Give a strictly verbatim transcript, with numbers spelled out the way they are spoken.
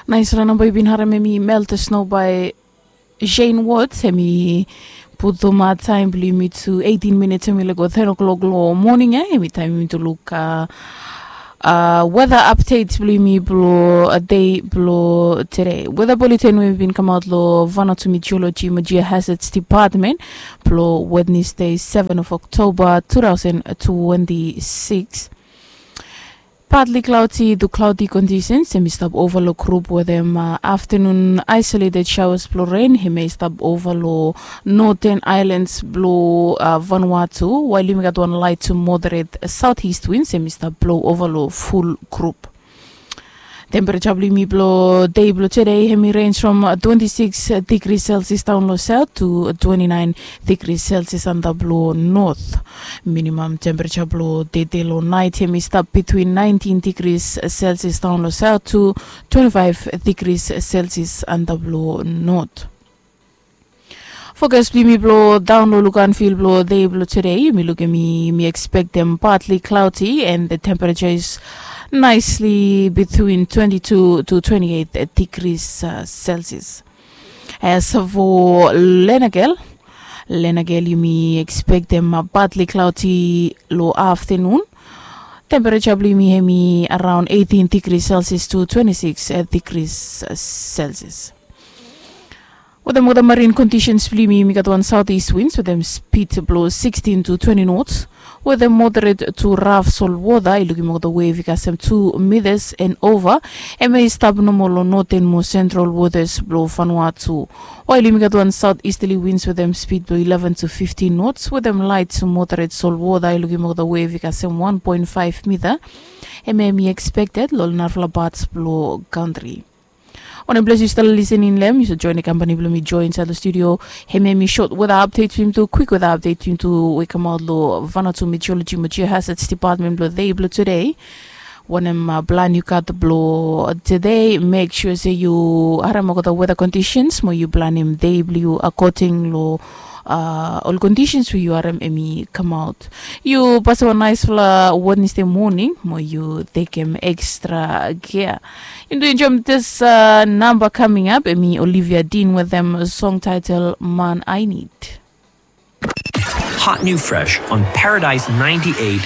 Naisfala namba yu bin harim em i Melt the Snow by Shane Watts. Em i putum taem blong yumi tu eighteen minutes, em i laik go ten o'clock long moning ya. Em i taem yumi tu luk weather update blong yumi blong dei blong tede. Weather bulletin we i bin kamaot long Vanuatu Meteorology mo Geohazards Department blong Wednesday, seven of October, two thousand twenty-six. Partly cloudy to cloudy conditions em i stap ova long grup wetem afternoon isolated showers blong rain. Hemia i stap ova long northern islands blong Vanuatu, wael yumi gat wan light to moderate southeast winds em i stap blo ova long ful grup. Temperature blong yumi blong dei blong tede, hemi range from twenty-six degrees Celsius daon long south to twenty-nine degrees Celsius antap long north. Minimum temperature blong dede long naet hemi stap between nineteen degrees Celsius daon long south to twenty-five degrees Celsius antap long north. Fokas blong yumi blong daon long lukanfil blong dei blong tede, yumi lukim, yumi ekspektem partly cloudy and the temperature is nicely between twenty-two to twenty-eight degrees Celsius. As for Lenakel, Lenakel yumi ekspektem partly cloudy long afternoon. Temperature blong yumi hemi around eighteen degrees Celsius to twenty-six degrees Celsius. Wetem olgeta marine conditions blong yumi, yumi gat wan southeast winds wetem speed blong sixteen to twenty knots, wetem moderate to rough salt water. I lukim olgeta wave i kasem two meters and over. Hemia i stap nomo long northern mo central waters blong Vanuatu. Wael yumi gat wan southeasterly winds wetem speed blong eleven to fifteen knots wetem light to moderate salt water. I lukim olgeta wave i kasem one point five meter. Hemia hemi expected long narafala parts blong country. Wanem ples yu stap listening long hem, yu save join the company blong mi join inside the studio. Hemia hemi short weather update blong yumi tu, quick weather update blong yumi tu we i kamaot long Vanuatu Meteorology mo Geohazards Department blong dei blong tede. Wanem plan yu gat blong tede, make sure se yu harem olgeta weather conditions mo yu planem dei blong yu according long ol conditions we yu harem hemi kamaot. Yu pasem wan naesfala Wednesday moning mo yu tekem extra care. Yumi tu enjoem this namba coming up, hemi Olivia Dean wetem song title Man I Need. Hot new fresh on Paradise ninety-eight